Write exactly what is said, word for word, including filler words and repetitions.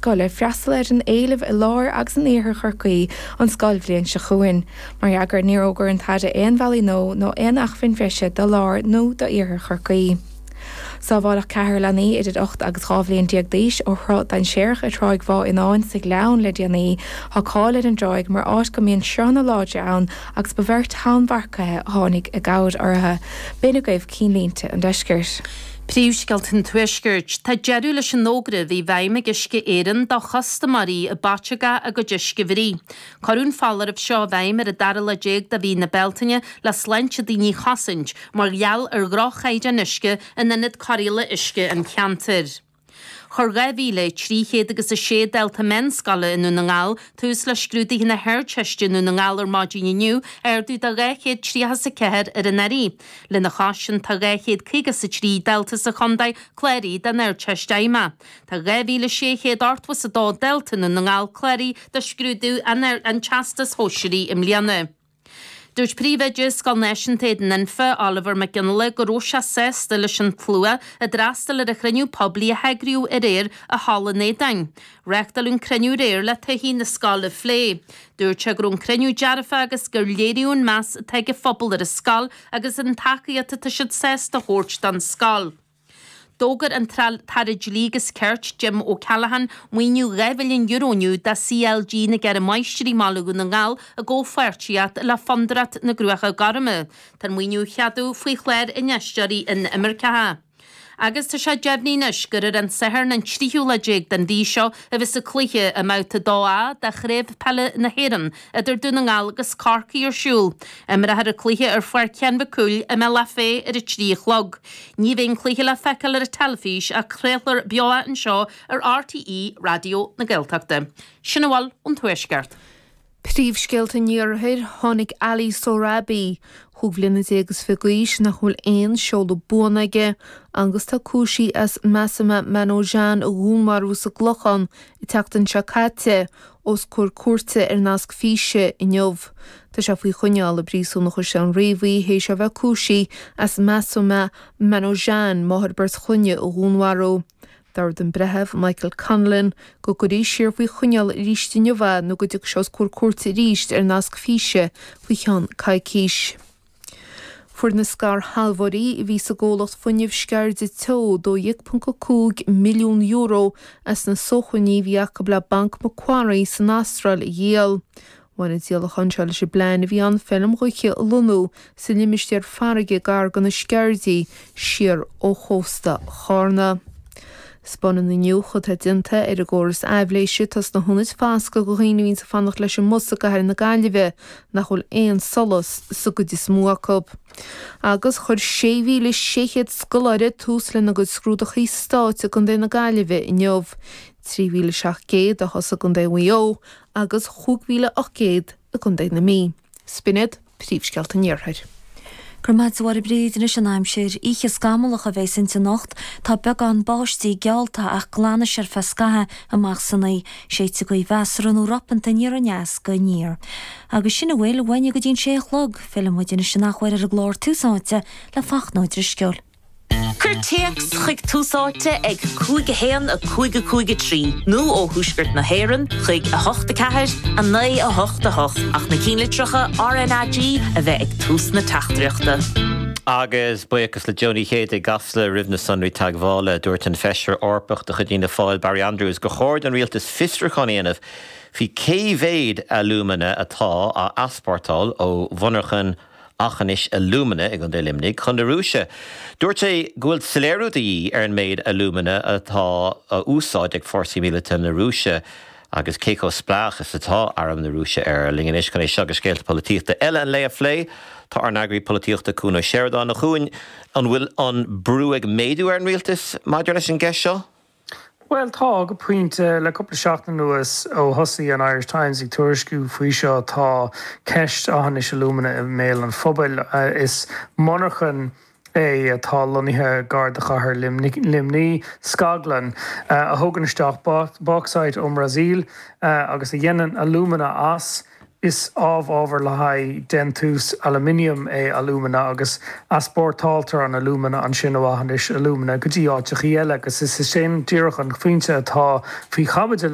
scoile freastal ar an éileamh i lár agus in iarthar Chorcaí an scoilbhliain seo chugainn. Mar fhreagra níor fhógair an tAire aon bhealaí nua nó aon acmhainn bhreise do lár nó d'iarthar Chorcaí. Sábháladh ceathrar leanaí idir ocht agus dhá bhliain déag d'aois ó shruth dainséarach i dTráigh Bhá Fhionáin sa Ghleann le déanaí. Tá cáil ar an dtráigh mar áit go mbíonn sruthanna láidre ann agus ba bheirt tonnmharcaithe a tháinig i gcabhair orthu. B'in agaibh cinnlínte an deiscirt. Príomhscéalta an Tuaiscirt. Tá deireadh leis an fhógra a bhí i bhfeidhm ag Uisce Éireann do chustaiméirí a b'fhaiteach a gcuid uisce a bhruith. Cuireadh an foláireamh seo i bhfeidhm ar an dara lá déag de mhí na Bealtaine le sláinte daoine a chosaint mar gheall ar dhroch-chaighdeán uisce in ionad cóireála uisce an cheantair. Chuir dhá mhíle trí chéad agus a sé dalta meánscoile i nDún na nGall tús le scrúduithe na hArdteiste i nDún na nGall ar maidin inniu, ardú de dhá chéad tríocha is a ceathair ar anuraidh. Lena chois sin tá dhá chéad caoga is a trí dalta sa chontae cláraithe don Ardteist Fheidhmeach. Tá dhá mhíle sé chéad ochtó is a dó dalta i nDún na nGall cláraithe do scrúdú an Teastais Shóisearaigh i mbliana. Dúirt Príomhoide Scoil Náisiúnta Éadan Anfa, Oliver Mac Fhionnghaile, go raibh sé sásta leis an tslua a d'fhreastail ar an chruinniú poiblí a heagraíodh aréir i Halla an Aodáin. Reáchtáladh an cruinniú aréir le todhchaí na scoile a phlé. Dúirt sé go raibh an cruinniú dearfach agus gur léiríodh an meas atá ag an phobal ar an scoil agus an tacaíocht atá siad sásta a thabhairt don scoil. D'fhógair an tAire Dlí agus Cirt, Jim O'Callaghan, maoiniú dhá mhilliún euro inniu do CLG na gCeithre Máistrí i mBaile Dhún na nGall i gcomhpháirtíocht le Fondúireacht na gCruacha Gorma. Tá an maoiniú á cheadú faoi chlár Infheisteoirí Inimirceacha. Agus tá sé deimhnithe anois gur ar an Satharn an tríú lá déag den mhí seo a bheas an cluiche i mBabhta a dó A de Chraobh Peile na hÉireann idir Dún na nGall agus Corcaigh ar siúl. Imreofar an cluiche ar Pháirc Sheáin Mhic Cumhaill i mBealach Féich ar a trí a chlog. Ní bheidh an cluiche le feiceáil ar an teilifís ach craolfar beo é anseo ar RTÉ Raidió na Gaeltachta. Sin a bhfuil ón Tuaisceart. Príomhscéalta an Iarthair, Tháinig Ali Sohrabi, cúig bliana déag is fiche d'aois nach bhfuil aon seoladh buan aige, agus tá cúisithe as Masuma Manojan a dhúnmharú sa gClochán an tseachtain seo caite, os comhair cúirte ar nasc físe inniu. Tá sé faoi choinneáil i bpríosún an Chaisleáin Riabhaigh théis a bheith cúisithe as Masuma Manojan, máthair beirt chlainne, a dhúnmharú. D'ordaigh an Breitheamh Michael Connellan go gcuirfí siar faoi choinneáil arís inniu é nó go dtiocfaidh sé os comhair cúirte arís ar nasc físe faoi cheann coicís. Fuair na scairshealbhóirí a bhí sa gcomhlacht fuinnimh Sceirde Teo dó dhéag ponc a cúig milliún euro as na sócmhainní a bhí acu le Banc Macquarie san Astráil a dhíol. Bhain an díolachán seo leis an bplean a bhí ann feirm ghaoithe a lonnú sa limistéar farraige gar do na Sceirdigh siar ó chósta Chárna. Spáineann iniúchadh atá déanta ar an gcóras aibhléise atá sna hionaid foscaidh do dhaoine a bhíonn ag fanacht leis an mbus i gcathair na Gaillimhe nach bhfuil aon solas sa gcuid is mó acu. Agus chuir sé mhíle sé chéad scoláire tús lena gcuid scrúduithe stáit i gContae na Gaillimhe inniu. Trí mhíle seacht gcéad a thosaigh i gContae Mhaigh Eo agus chúig mhíle ocht gcéad i gContae na Mí. B'in iad príomhscéalta an Iarthair. Go raibh maith agat a Mháire Bríd anois an aimsir. Oíche scamallach a bheas inti anocht. Tá beagán báistí geallta ach glanfaidh sé ar feadh scaithimh amach san oíche. Séidfidh gaoth mheasartha nó ropanta aniar aneas go aniar. Agus sin a bhfuil uainne go dtí an sé a chlog. Fillfidh muid anois an athuair ar an gclár Tús Áite le Fachtna Ó Drisceoil. Cuir téacs chuig Tús Áite ag cúig a haon a cúig a cúig a trí nó ó Thuaisceart na hÉireann chuig a hocht a ceathair a naoi a hocht a hocht ach na cinnlitreacha RnaG a bheith ag tús na teachtaireachta. Agus buíochas le Joe Ní Chéide i gCasla roimh na sonraí teagmhála, dúirt an Feisire Eorpach de chuid Fhianna Fáil Barry Andrews gur chóir don rialtas fiosrúchán a dhéanamh faoi cé mhéad alúmana atá á easpórtáil ó mhonarchan Aughinish Alumina i gContae Luimnigh chun na Rúise. Dúirt sé go bhfuil soiléiriú de dhíth ar an méid alúmana atá á úsáid ag fórsaí míleata na Rúise agus cé chomh spleách is atá arm na Rúise air. Linn anois chun é seo agus scéalta polaitíochta eile an lae a phlé, tá ár n-eagraí polaitíochta Cuan Ó Seireadáin. A Chuain, an bhfuil an brú ag méadú ar an rialtas maidir leis an gceist seo? Bhuel tá go pointe le cúpla seachtain anuas ó thosaigh an Irish Times ag tuairisciú faoi seo tá ceist Aughinish Alumina i mbéal an phobail. Is monarchan é atá lonnaithe gar do chathair Luimnigh, scaglann a thugann isteach bauxite ón mBrasaíl agus a dhéanann alúmana as. Is amhábhar le haghaidh déantús aluminium é alúmana agus easpórtáiltear an alúmana ansin ó Aughinish Alumina go dtí áiteachaí eile agus is é sin díreach an pointe atá faoi chaibidil.